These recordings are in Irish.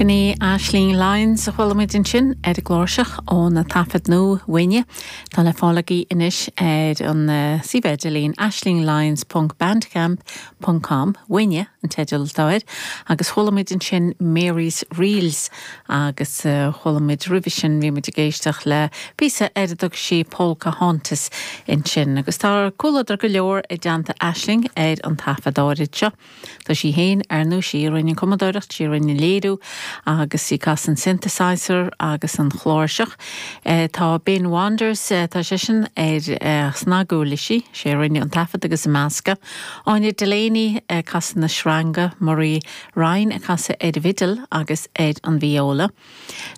Sin í Aisling Lyons a chuala muid ansin ar an gcláirseach óna taifead nua, Uaine. Tá le fáil agaibh anois ar an suíomh idirlín aislingyons ponc bandcamp ponc com. Uaine an teideal atá air. Agus chuala muid ansin Mary's Reels agus chuala muid roimhe sin, bhí muid ag éisteacht le píosa ar a dtug sí Polka Hauntus ansin. Agus tá comhluadar go leor i dteannta Aisling ar an taifead áirid seo. Tá sí féin, ar ndóigh, sí a rinne an cumadóireacht, sí a rinne an léiriú agus í ag casadh an synthesizer agus an chláirseach. Tá Ben Wanders, tá seisean ar snaguirlisí, sé a rinne an taifead agus an meascadh. Áine Delaney ag casadh na sreanga, Murray Ryan ag casadh ar an bhfidil agus ar an vióla.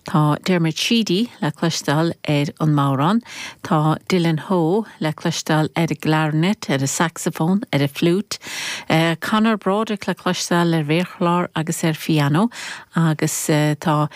Tá Dermot Sheedy le cloisteáil ar an mbodhrán, tá Dylan Howe le cloisteáil ar an gclarinet, ar an saxophone, ar an fliúit, Conor Broderick le cloisteáil ar mhéarchlár agus ar phianó agus tá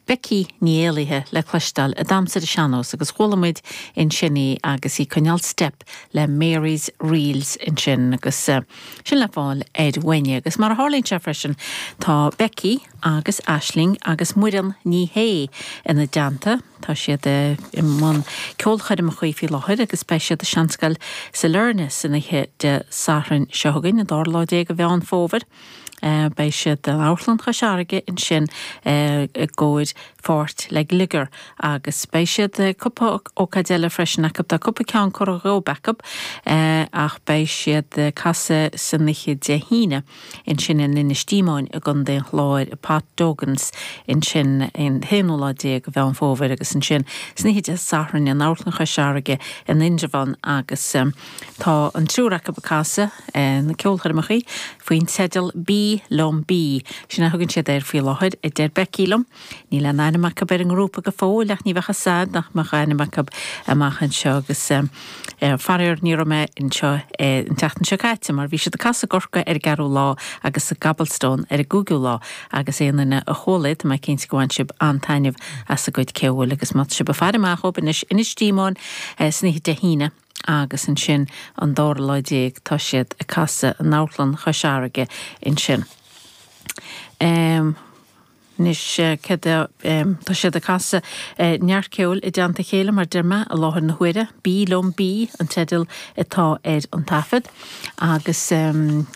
Becky Ní Éallaithe le cloisteáil ag damhsa ar an sean-nós agus chuala muid ansin í agus í ag coinneáil steip le Mary's Reels ansin agus sin le fáil ar Uaine agus mar a tharlaíonn sé freisin tá Becky agus Aisling agus Muireann Ní Shé ina dteannta. Tá siad i mbun ceolchoirmeacha faoi láthair agus beidh siad i Seanscoil Sailearna san oíche Dé Sathairn seo chugainn, an dara lá déag de Mheán Fómhair. Beidh siad in Amharclann Chois Fharraige ansin i gcomhair pháirt le Gliogar agus beidh siad cúpla ócáid eile freisin acu. Tá cúpla ceann curtha dhóibh acu ach beidh siad ag casadh san oíche Dé hAoine. ansin in Inis Díomáin i gContae an Chláir, i Pat Duggan's ansin an t-aonú lá déag de Mheán Fómhair agus ansin san oíche Dé Sathairn in Amharclann Chois Fharraige in Indreabhán agus tá an triúr acu ag casadh na ceolchoirmeacha faoin teideal Bí Liom Bí. Sin a thugann siad air faoi láthair, a deir Becky liom. Níl aon ainm acu ar an ngrúpa go fóill ach ní bheadh fhios a'd nach mbeadh ainm acu amach anseo agus faraor ní raibh mé anseo an tseachtain seo caite mar bhí siad ag casadh i gCorcaigh ar an gceathrú lá agus sa gCobblestone ar an gcúigiú lá agus aon duine a chuala iad tá mé cinnte go bhain sibh an-taitneamh as a gcuid ceoil agus má tá sibh ag faire amach dhóibh anois Inis Díomáin san oíche Dé hAoine agus ansin an dara lá déag tá siad ag casadh in Amharclann Chois Fharraige ansin. Anois, céard é, tá siad ag casadh neart ceoil i dteannta a chéile, mar deir mé, i láthair na huaire. Bí Liom Bí an teideal atá ar an taifead. Agus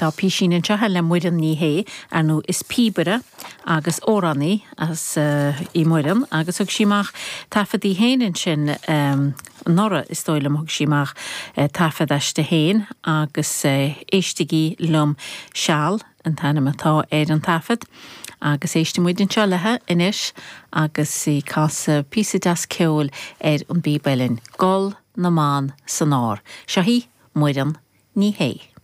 tá písín anseo le Muireann Ní Shé, ar ndóigh is píobaire agus amhránaí as í Muireann agus thug sí amach taifead í féin ansin anuraidh, is dóigh liom, thug sí amach taifead aisti féin agus Éistigí Liom Seal. an t-ainm atá ar an taifead agus éistfidh muid anseo léi anois agus í ag casadh píosa deas ceoil ar an bpíb uilleann, Gol na mBan san Ár. Seo í Muireann Ní Shé.